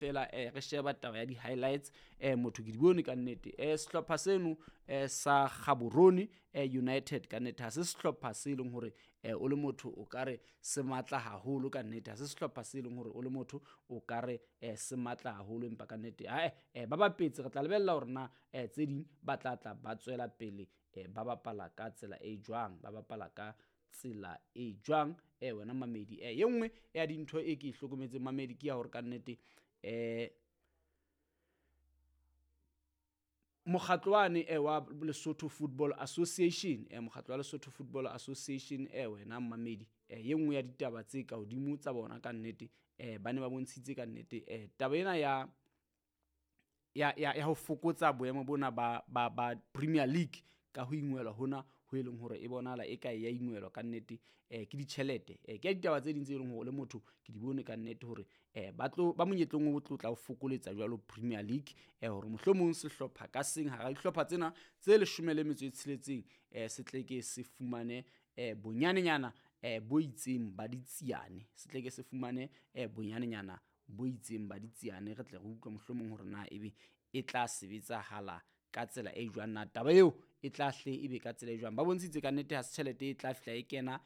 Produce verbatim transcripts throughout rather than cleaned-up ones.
Fela eh re sheba taba ya di-highlights eh motho ke di bone ka nnete. eh Sehlopha seno eh sa Gaborone eh United ka nnete ha se sehlopha se leng hore eh o le motho o ka re se matla haholo ka nnete. Ha se sehlopha se leng hore o le motho o ka re eh se matla haholo, empa ka nnete ae eh ba bapetse. Re tla lebella hore na eh tse ding ba tla tla ba tswela pele eh ba bapala ka tsela e jwang, ba bapala ka tsela e jwang. eh wena mamedi, eh ye nngwe ya dintho e ke e hlokometseng mamedi ke ya hore ka nnete eh mokgatlo wane eh wa Lesotho Football Association, eh mokgatlo wa Lesotho Football Association eh wena mamedi, eh ye nngwe ya ditaba tse ka hodimo tsa bona ka nnete eh ba ne ba bontshitse ka nnete eh taba ena ya ya ya ya ho fokotsa boemo bona ba ba ba Premier League ka ho ingwelwa hona ho e leng hore e bonahala e ka ya ingwelwa ka nnete eh ke ditjhelete. eh Ke ditaba tse ding tse leng hore le motho ke di bone ka nnete hore eh ba tlo ba monyetleng o tlo tla o fokoletsa jwalo Premier League eh hore mohlomong sehlopha ka seng hara dihlopha tsena tse leshome le metso e tsheletseng eh se tle ke se fumane eh bonyanenyana eh bo itseng ba ditsiane, se tle ke se fumane eh bonyanenyana bo itseng ba ditsiane. Re tle re utlwe mohlomong hore na ebe e tla sebetsahala ka tsela e jwang, na taba eo e tla hle ebe ka tsela e jwang. Ba bontshitse ka nnete ha se tjhelete e tla fihla e kena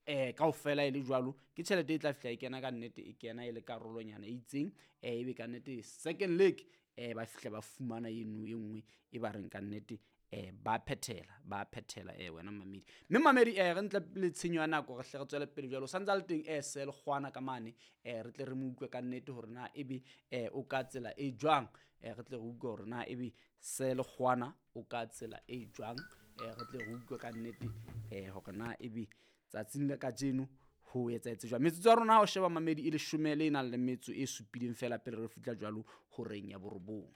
eh kaofela e le jwalo, ke tjhelete e tla fihla e kena ka nnete, e kena e le karolonyana e itseng eh ebe ka nnete second leg eh ba fihla ba fumana eno e nngwe e ba reng ka nnete eh ba phethela, ba phethela eh wena mamedi. Mme mamedi eh re ntle le tshenyo ya nako re hle re tswele pele jwalo. Santsa le teng eh Sel Kgwana ka mane eh re tle re mo utlwe ka nnete hore na ebe eh o ka tsela e jwang, eh re tle re utlwe hore na ebe Sel Kgwana o ka tsela e jwang, eh re tle re utlwe ka nnete eh hore na ebe tsatsing la kajeno ho etsahetse jwang. Metsotso ya rona ha o sheba mamedi e leshome le nang le metso e supileng fela pele re fihla jwalo horeng ya borobong.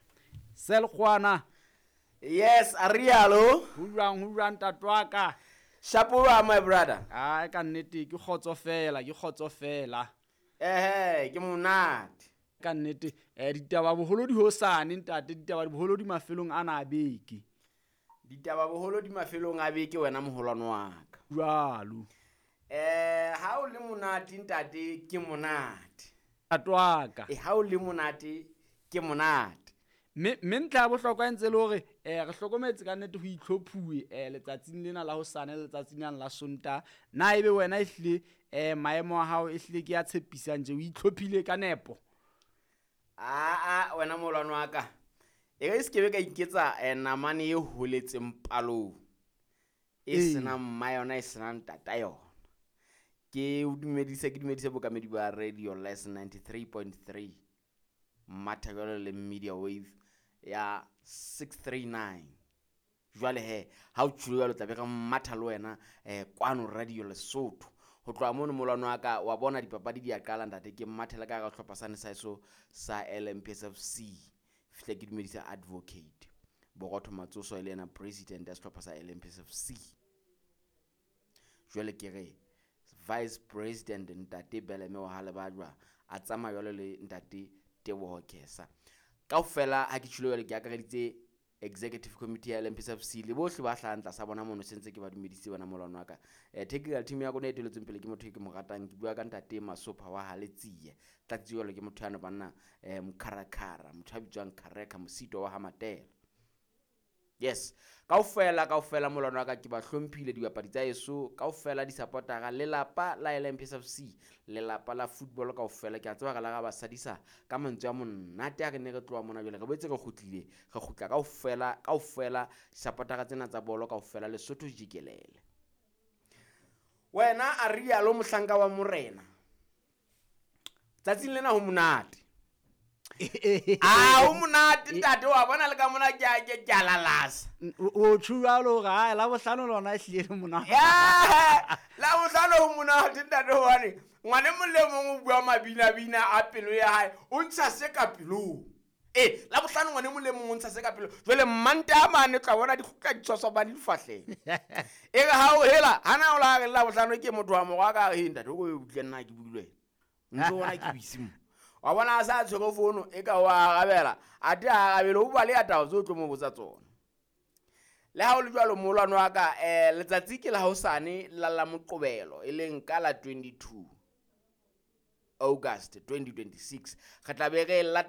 Sel Kgwana. Yes, arialo. Ho jwang, ho jwang ntate wa ka? Shapoa my brother. Ai ka nnete ke kgotso fela, ke kgotso fela. Ehe, ke monate. Ka nnete eh ditaba boholo di hosane ntate, ditaba boholo di mafelong ana a beke. Ditaba boholo di mafelong a beke wena moholwane wa ka. Jwalo. Eh ha o le monate ntate ke monate. Ntate wa ka. Eh ha o le monate ke monate. Mme mme ntlha ya bohlokwa e ntse le hore eh re hlokometse ka nnete ho itlhophuwe eh letsatsing lena la hosane le letsatsing lena la Sontaha. Na ebe wena ehlile eh maemo a hao ehlile ke a tshepisang tje, o itlhophile ka nepo? A a wena moholwane wa ka. E re se ke be ka iketsa eh namane e holetseng palong. E senang mma yona, e senang ntata yona. Ke o dumedise, ke dumedise bokamedi ba Radio Les ninety-three point three. Mmatha jwalo le Media Wave ya six three nine. Jwale he ha o tjholo jwalo tla be re mmatha le wena eh kwano Radio Lesotho. Ho tloha mono molwana wa ka wa bona dipapadi di a qala ntate, ke mmathela ka hara sehlopha sane sa heso sa L M P S F C. Fihle ke dumedisa Advocate Borotho Matsoso e le yena president ya sehlopha sa L M P S F C. Jwale ke re vice president ntate Beleme wa Halebajwa a tsamaya jwalo le ntate Teboho Kesa. Kaofela ha ke tjholo jwale ke akareditse executive committee ya L M P S F C le bohle ba hlahang tlasa bona mono, sentse ke ba dumedisitse bona molwana wa ka. Eh technical team ya rona e eteletsweng pele ke motho e ke mo ratang, ke bua ka ntate Masopha wa Haletsie. Tlatsi jwalo ke motho yana banna eh mokharakara, motho a bitswang Khareka Mosito wa Hamatela. Yes, kaofela kaofela molwana wa ka ke ba hlomphile dibapadi tsa heso, kaofela di-supportera, lelapa la L M P S F C, lelapa la football kaofela. Ke a tseba re la ra ba sadisa ka mantswe a monate a re ne re tloha mona jwale, re boetse re kgutlile, re kgutla kaofela, kaofela supportera tsena tsa bolo kaofela Lesotho jikelele. Wena a rialo mohlanka wa morena. Tsatsing lena ho monate. Ah, o monate ntate wa bona le ka mona ke a ke ke a lalasa. O tjho jwalo hore ha la bohlano lona e hlile le monate. Yeah, la bohlano ho monate ntate hobane ngwane mong le mong o bua mabina bina a pelo ya hae, o ntsha se ka pelong. Eh, la bohlano ngwane mong le mong o ntsha se ka pelong. Jwale mmanta a mane tla bona di kgutla ditshwaswa difahleng. E re ha o hela, hana o la re la bohlano ke motho wa morwa ka re ntate o go utlwe nna ke buile wena. Ntse bona ke buise mo. Wa bona a sa tshwere fono e ka wa arabela, athe a arabele o bua le ya taba tseo tlo mo botsa tsona. Le ha o le jwalo moholwane wa ka eh letsatsi ke la hosane la la Moqebelo e leng ka la twenty-two. August twenty twenty-six. Re tla be re lata